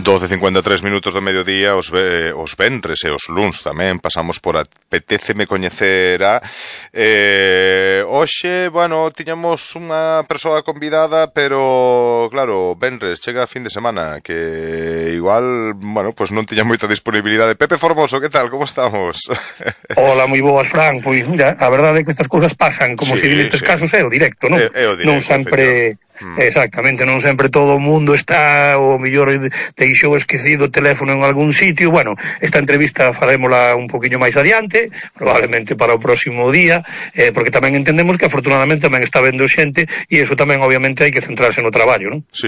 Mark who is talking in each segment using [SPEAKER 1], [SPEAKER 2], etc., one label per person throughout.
[SPEAKER 1] 12:53 do mediodía, os venres e os luns tamén pasamos por Apetéceme Coñecerá. Hoxe, bueno, tiñamos unha persoa convidada, pero, claro, venres, chega a fin de semana, que igual, bueno, pues non tiña moita disponibilidade. Pepe Formoso, que tal, como estamos?
[SPEAKER 2] Hola, moi boas, Fran. Pois, mira, a verdade é que estas cousas pasan, como se nestes casos é o directo, non?
[SPEAKER 1] É o directo,
[SPEAKER 2] non sempre, exactamente, non sempre todo o mundo está, o mellor deixou esquecido o teléfono en algún sitio. Bueno, esta entrevista farémola un poquinho máis adiante, probablemente para o próximo día, porque tamén entendemos que afortunadamente tamén está vendo xente, e iso tamén obviamente hai que centrarse no traballo, non?
[SPEAKER 1] Sí.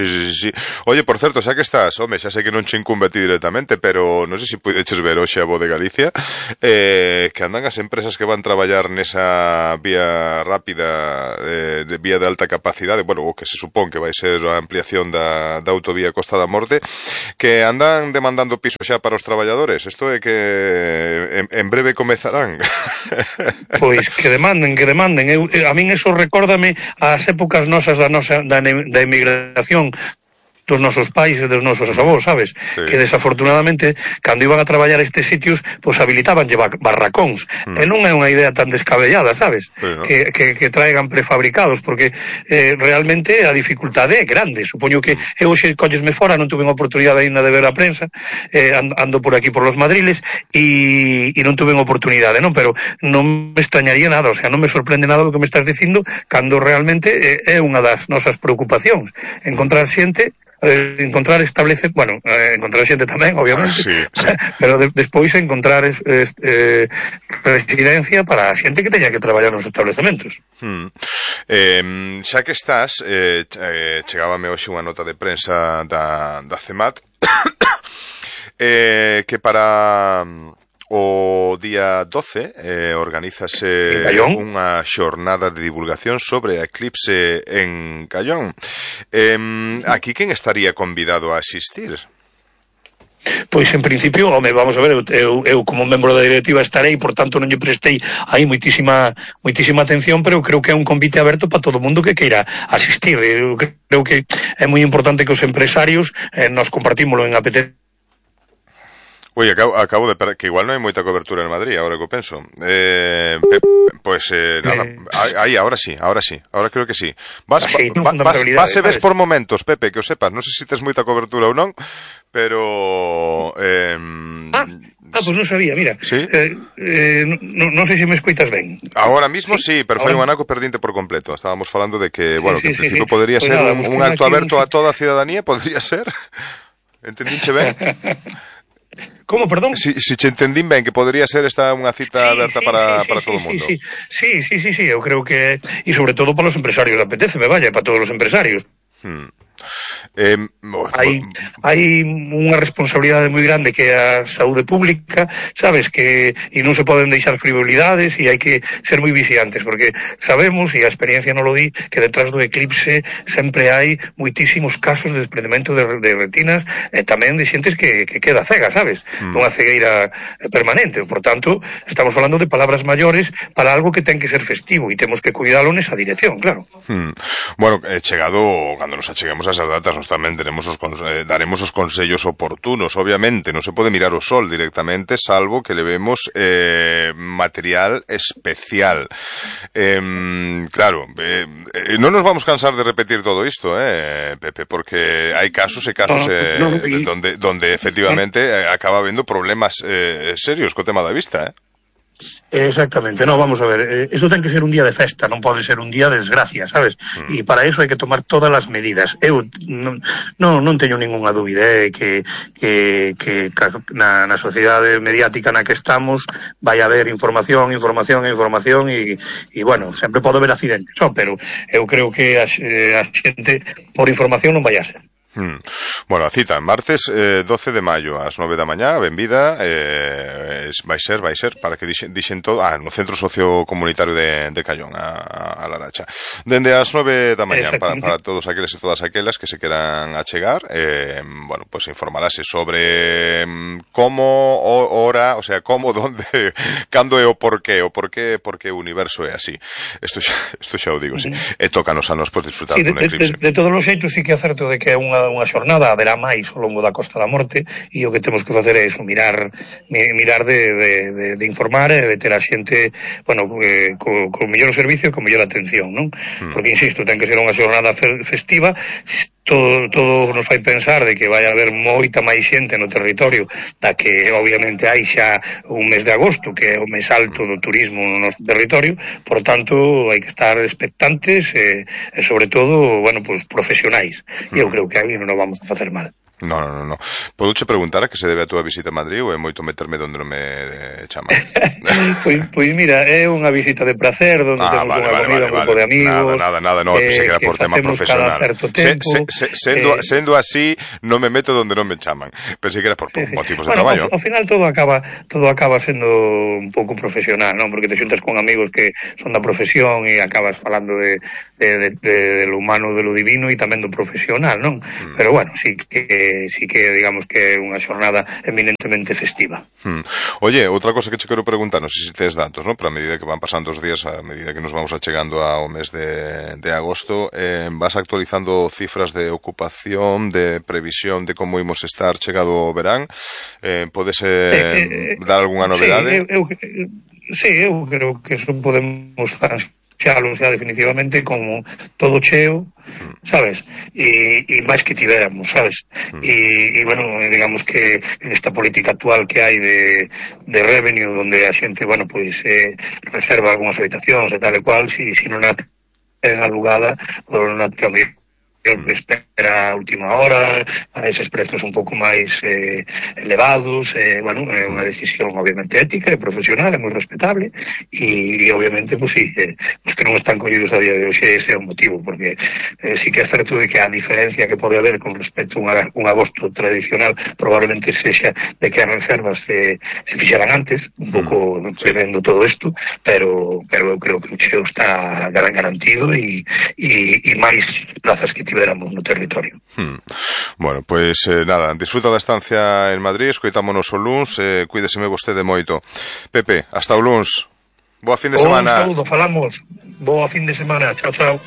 [SPEAKER 1] Oye, por certo, xa que estás, home, xa sei que non che incumbe a ti directamente, pero non sei se puideches ver hoxe a Voz de Galicia, que andan as empresas que van traballar nesa vía rápida, de vía de alta capacidade, bueno, o que se supón que vai ser a ampliación da autovía Costa da Morte, que andan demandando piso xa para os traballadores. Isto é que en breve comezarán.
[SPEAKER 2] Pois que demanden. A min eso recórdame ás épocas nosas da emigración dos nosos pais e dos nosos avós, sabes? Sí. Que desafortunadamente, cando iban a traballar a estes sitios, pois habilitaban barracóns. E non é unha idea tan descabellada, sabes? Sí, ¿no? Que traigan prefabricados, porque realmente a dificultade é grande. Supoño que eu hoxe collesme fora, non tuve a oportunidade ainda de ver a prensa, ando por aquí por los Madriles, e non tuve a oportunidade, non? Pero non me extrañaría nada, o sea, non me sorprende nada do que me estás dicindo, cando realmente é unha das nosas preocupacións. Encontrar xente, encontrar xente tamén, obviamente, sí. Pero despois encontrar residencia para a xente que teña que traballar nos establecementos.
[SPEAKER 1] Xa que estás, chegábame hoxe unha nota de prensa da CEMAT que para o día 12 organízase unha xornada de divulgación sobre a eclipse en Callón. Aquí quen estaría convidado a asistir?
[SPEAKER 2] Pois en principio, home, vamos a ver, eu como membro da directiva estarei, por tanto non lle prestei aí moitísima atención, pero eu creo que é un convite aberto para todo o mundo que queira asistir. Eu creo que é moi importante que os empresarios nos compartímoslo en APT.
[SPEAKER 1] Ui, acabo de que igual non hai moita cobertura en Madrid, agora que o penso. Nada, aí, ahora sí, ahora creo que sí. Vas e ves por momentos, Pepe, que o sepas, non sei se tes moita cobertura ou non, pero...
[SPEAKER 2] pois non sabía, mira.
[SPEAKER 1] ¿Sí?
[SPEAKER 2] Non sei se me escoitas ben.
[SPEAKER 1] Agora mismo sí, pero foi un anaco perdinte por completo. Estábamos falando de que, bueno, que en principio podría ser un acto aberto a toda a ciudadanía, podría ser. Entendinche ben?
[SPEAKER 2] Como, perdón?
[SPEAKER 1] Si te entendín ben, que podría ser esta unha cita aberta para todo o mundo.
[SPEAKER 2] Sí, eu creo que... E sobre todo para os empresarios, Apetéceme, vaya, para todos os empresarios. Hai unha responsabilidade moi grande que é a saúde pública, sabes, que e non se poden deixar frivolidades e hai que ser moi vigilantes, porque sabemos, e a experiencia non lo di, que detrás do eclipse sempre hai moitísimos casos de desprendemento de retinas e tamén de xentes que queda cega, sabes, unha cegueira permanente. Por tanto, estamos falando de palabras maiores para algo que ten que ser festivo e temos que cuidalo nesa dirección, claro.
[SPEAKER 1] Bueno, chegado, cando nos acheguemos a esas datas, nos tamén daremos os consellos oportunos. Obviamente, non se pode mirar o sol directamente, salvo que levemos material especial. Claro, non nos vamos cansar de repetir todo isto, Pepe, porque hai casos e casos donde efectivamente acaba habendo problemas serios co tema da vista,
[SPEAKER 2] Exactamente, no, vamos a ver, eso ten que ser un día de festa, non pode ser un día de desgracia, sabes? E para eso hai que tomar todas as medidas. Eu non teño ningunha dúbida que na sociedade mediática na que estamos vai haber información e bueno, sempre pode haber accidentes, pero eu creo que a xente por información non vai a ser.
[SPEAKER 1] Bueno, a cita, martes 12 de maio ás 9 da mañá, benvida, vai ser, para que dixen todo, no Centro Sociocomunitario de Callón, a Laracha. Dende as 9 da mañá, para todos aqueles e todas aquelas que se queran achegar, bueno, pues informarase sobre como, hora, o sea, como, donde, cando e o porqué o universo é así. Isto xa o digo, sí. E tócanos a nos por disfrutar dun eclipse.
[SPEAKER 2] De todos os xeitos, sí que é certo de que é unha xornada haberá máis ao longo da Costa da Morte, e o que temos que facer é iso, mirar de informar e de ter a xente, bueno, co mellor servicio e co mellor atención, non? Porque, insisto, ten que ser unha xornada festiva. Todo nos fai pensar de que vai haber moita máis xente no territorio da que obviamente hai xa un mes de agosto, que é o mes alto do turismo no noso territorio. Por tanto, hai que estar expectantes e sobre todo, bueno, pues profesionais. E eu creo que aí non nos vamos a facer mal.
[SPEAKER 1] No. Podoche preguntar a que se debe a túa visita a Madrid ou é moito meterme donde non me chaman?
[SPEAKER 2] Pois mira, é unha visita de placer, donde temos unha comida, un grupo de amigos.
[SPEAKER 1] Nada, non, pensei que era por tema profesional. Sendo así, non me meto donde non me chaman. Pensei que era por motivos de traballo.
[SPEAKER 2] Ao final todo acaba sendo un pouco profesional, non? Porque te xuntas con amigos que son da profesión e acabas falando de lo humano, de lo divino e tamén do profesional, non? Pero bueno, sí que digamos que é unha xornada eminentemente festiva.
[SPEAKER 1] Oye, outra cosa que che quero preguntar, non sei se tes datos, non? Para a medida que van pasando os días, a medida que nos vamos achegando ao mes de agosto, vas actualizando cifras de ocupación, de previsión de como imos estar chegado o verán? Podes dar algunha novedade?
[SPEAKER 2] Eu creo que eso podemos xalo xa definitivamente como todo cheo, sabes, e máis que tiveramos, sabes, e bueno, digamos que esta política actual que hai de revenue, donde a xente, bueno, pois reserva algunhas habitacións e tal e cual, si non a ten alugada, ou non a ten espera a última hora, a eses prezos un pouco máis elevados, bueno, é unha decisión obviamente ética e profesional, é moi respetable, e obviamente, pues sí, os que non están collidos a día de hoxe, ese é o motivo, porque sí que é certo de que a diferencia que pode haber con respecto a un agosto tradicional probablemente sexa de que as reservas se fixeran antes, un pouco prevendo todo isto, pero eu creo que o cheo está garantido e máis plazas que tiveramos no territorio.
[SPEAKER 1] Bueno, pois nada, disfruta da estancia en Madrid, escoitámonos o luns, cuídeseme vostede moito. Pepe, hasta o luns. Boa fin de semana.
[SPEAKER 2] Un saúdo, falamos. Boa fin de semana. Chao.